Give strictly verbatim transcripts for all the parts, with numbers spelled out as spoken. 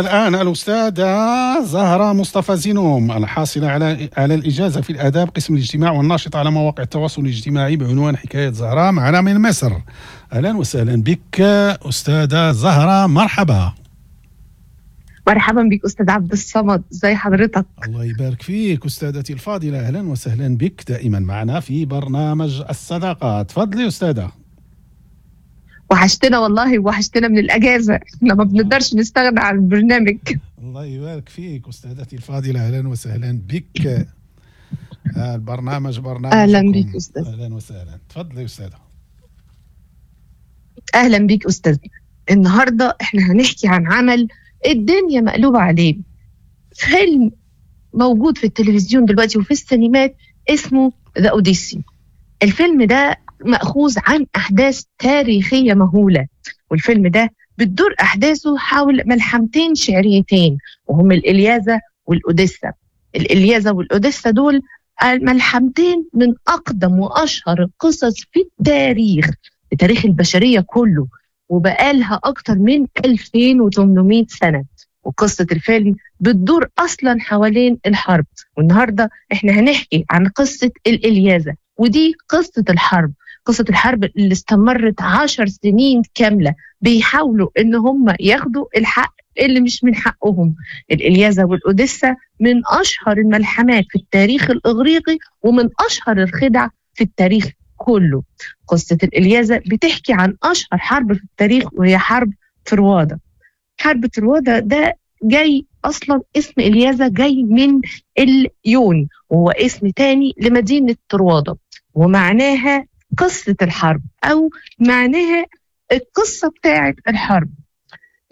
الآن الأستاذة زهرة مصطفى زينوم، الحاصلة على على الإجازة في الآداب قسم الاجتماع، والناشطة على مواقع التواصل الاجتماعي بعنوان حكاية زهرة، معنا من مصر. أهلا وسهلا بك أستاذة زهرة، مرحبا. مرحبا بك أستاذ عبد الصمد، ازي حضرتك؟ الله يبارك فيك أستاذتي الفاضلة، أهلا وسهلا بك دائما معنا في برنامج الصداقة. تفضلي أستاذة. وحشتنا والله، وحشتنا من الأجازة، احنا ما بنقدرش نستغنى عن البرنامج. الله يبارك فيك أستاذتي الفاضلة، أهلا وسهلا بك. البرنامج برنامج أهلا بك أستاذ. أهلا وسهلا، تفضلي أستاذة. أهلا بك أستاذ. النهاردة احنا هنحكي عن عمل الدنيا مقلوبة عليه، فيلم موجود في التلفزيون دلوقتي وفي السينمات اسمه The Odyssey. الفيلم ده مأخوذ عن أحداث تاريخية مهولة، والفيلم ده بتدور أحداثه حول ملحمتين شعريتين وهم الإلياذة والأوديسا. الإلياذة والأوديسا دول ملحمتين من أقدم وأشهر القصص في التاريخ، في تاريخ البشرية كله، وبقالها أكتر من ألفين وثمانمائة سنة. وقصة الفيلم بتدور أصلا حوالين الحرب، والنهاردة إحنا هنحكي عن قصة الإلياذة، ودي قصة الحرب، قصة الحرب اللي استمرت عشر سنين كاملة بيحاولوا إن هم ياخدوا الحق اللي مش من حقهم. الإلياذة والأوديسا من أشهر الملحمات في التاريخ الإغريقي ومن أشهر الخدع في التاريخ كله. قصة الإلياذة بتحكي عن أشهر حرب في التاريخ وهي حرب طروادة. حرب طروادة ده جاي أصلا اسم إلياذة جاي من اليون، وهو اسم تاني لمدينة طروادة، ومعناها قصة الحرب أو معناها القصة بتاعة الحرب.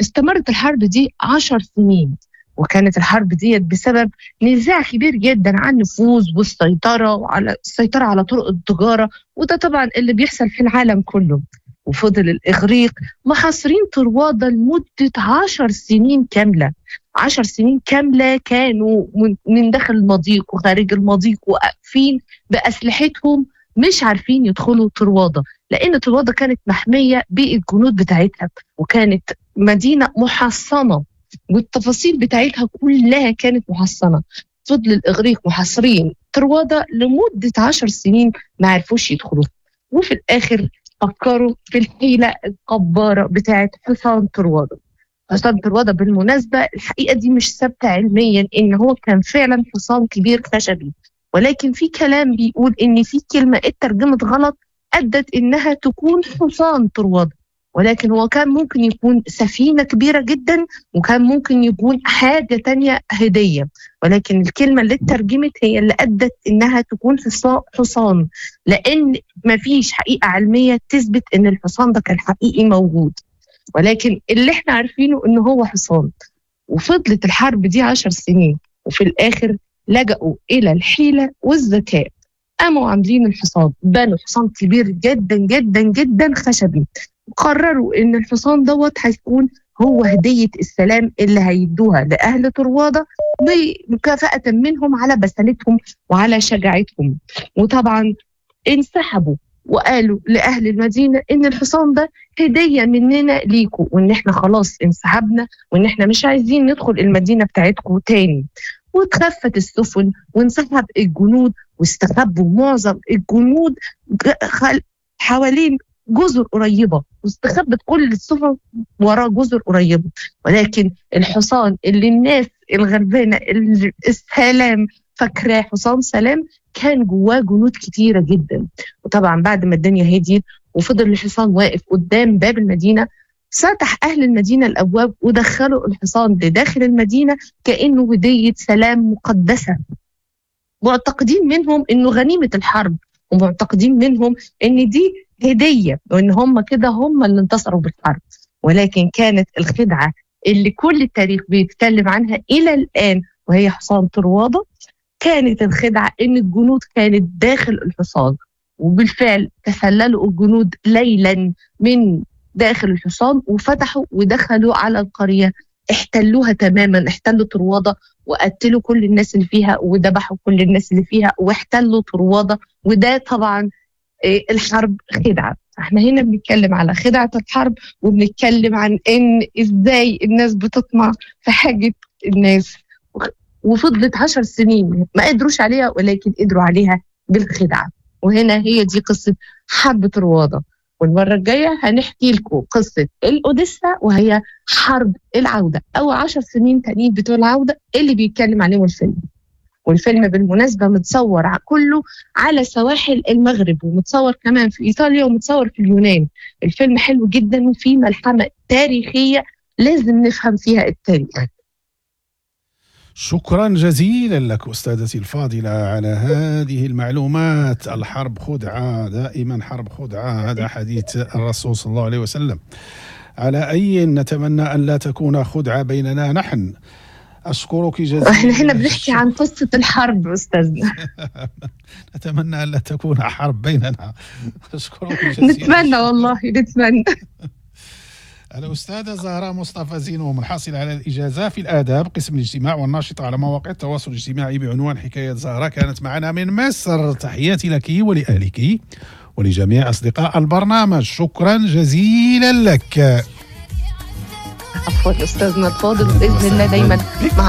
استمرت الحرب دي عشر سنين، وكانت الحرب دي بسبب نزاع كبير جدا عن النفوذ والسيطرة وعلى السيطرة على طرق التجارة، وده طبعا اللي بيحصل في العالم كله. وفضل الإغريق محاصرين طروادة لمدة عشر سنين كاملة. عشر سنين كاملة كانوا من داخل المضيق وخارج المضيق وقفين بأسلحتهم، مش عارفين يدخلوا طروادة، لأن طروادة كانت محمية بالجنود بتاعتها، وكانت مدينة محصنة والتفاصيل بتاعتها كلها كانت محصنة. فضل الإغريق محاصرين طروادة لمدة عشر سنين ما عرفوش يدخلوا، وفي الآخر فكروا في الحيلة الجبارة بتاعت حصان طروادة. حصان طروادة بالمناسبة الحقيقة دي مش ثابتة علميا إن هو كان فعلا حصان كبير خشبي، ولكن في كلام بيقول إن في كلمة اترجمت غلط أدت إنها تكون حصان طروادة، ولكن هو كان ممكن يكون سفينة كبيرة جدا، وكان ممكن يكون حاجة تانية هدية، ولكن الكلمة اللي اترجمت هي اللي أدت إنها تكون حصان، لأن مفيش حقيقة علمية تثبت إن الحصان ده كان حقيقي موجود، ولكن اللي احنا عارفينه إنه هو حصان. وفضلت الحرب دي عشر سنين، وفي الآخر لجأوا إلى الحيلة والذكاء، قاموا عاملين الحصان، بنوا حصان كبير جدا جدا جدا خشبي، قرروا إن الحصان دوت هيكون هو هدية السلام اللي هيدوها لأهل طروادة بمكافأة منهم على بسالتهم وعلى شجاعتهم. وطبعا انسحبوا وقالوا لأهل المدينة إن الحصان ده هدية مننا ليكوا، وإن إحنا خلاص انسحبنا، وإن إحنا مش عايزين ندخل المدينة بتاعتكوا تاني. واتخفت السفن وانسحب الجنود، واستخبوا معظم الجنود حوالين جزر قريبة، واستخبت كل السفن وراء جزر قريبة. ولكن الحصان اللي الناس الغلبانة السلام فاكراه حصان سلام كان جواه جنود كتيرة جدا. وطبعا بعد ما الدنيا هديت وفضل الحصان واقف قدام باب المدينة، فتح أهل المدينة الأبواب ودخلوا الحصان لداخل المدينة كأنه هدية سلام مقدسة، معتقدين منهم إنه غنيمة الحرب، ومعتقدين منهم إن دي هدية، وإن هم كده هم اللي انتصروا بالحرب. ولكن كانت الخدعة اللي كل التاريخ بيتكلم عنها إلى الآن وهي حصان طروادة، كانت الخدعة إن الجنود كانت داخل الحصان، وبالفعل تسللوا الجنود ليلا من داخل الحصان وفتحوا ودخلوا على القرية، احتلوها تماما، احتلوا طروادة وقتلوا كل الناس اللي فيها وذبحوا كل الناس اللي فيها واحتلوا طروادة. وده طبعا الحرب خدعة. احنا هنا بنتكلم على خدعة الحرب، وبنتكلم عن ان ازاي الناس بتطمع في حاجة الناس، وفضلت عشر سنين ما قدروش عليها، ولكن قدروا عليها بالخدعة. وهنا هي دي قصة حرب طروادة. والمرة الجاية هنحكي لكم قصة الأوديسا، وهي حرب العودة أو عشر سنين تانيين بتوع العودة اللي بيتكلم عليهم الفيلم. والفيلم بالمناسبة متصور كله على سواحل المغرب، ومتصور كمان في إيطاليا، ومتصور في اليونان. الفيلم حلو جدا وفيه ملحمة تاريخية لازم نفهم فيها التاريخ. شكرا جزيلا لك أستاذتي الفاضلة على هذه المعلومات. الحرب خدعة، دائما حرب خدعة، هذا حديث الرسول صلى الله عليه وسلم. على أي نتمنى أن لا تكون خدعة بيننا نحن. أشكرك جزيلا. احنا هنا بنحكي عن قصة الحرب أستاذنا. نتمنى أن لا تكون حرب بيننا. أشكرك جزيلا. نتمنى والله، نتمنى. الأستاذة زهرة مصطفى زينوم، الحاصلة على الإجازة في الآداب قسم الاجتماع والناشطة على مواقع التواصل الاجتماعي بعنوان حكاية زهرة، كانت معنا من مصر. تحياتي لك ولأهلك ولجميع أصدقاء البرنامج. شكرا جزيلا لك. عفوا أستاذنا الفاضل، بإذن الله دايما مع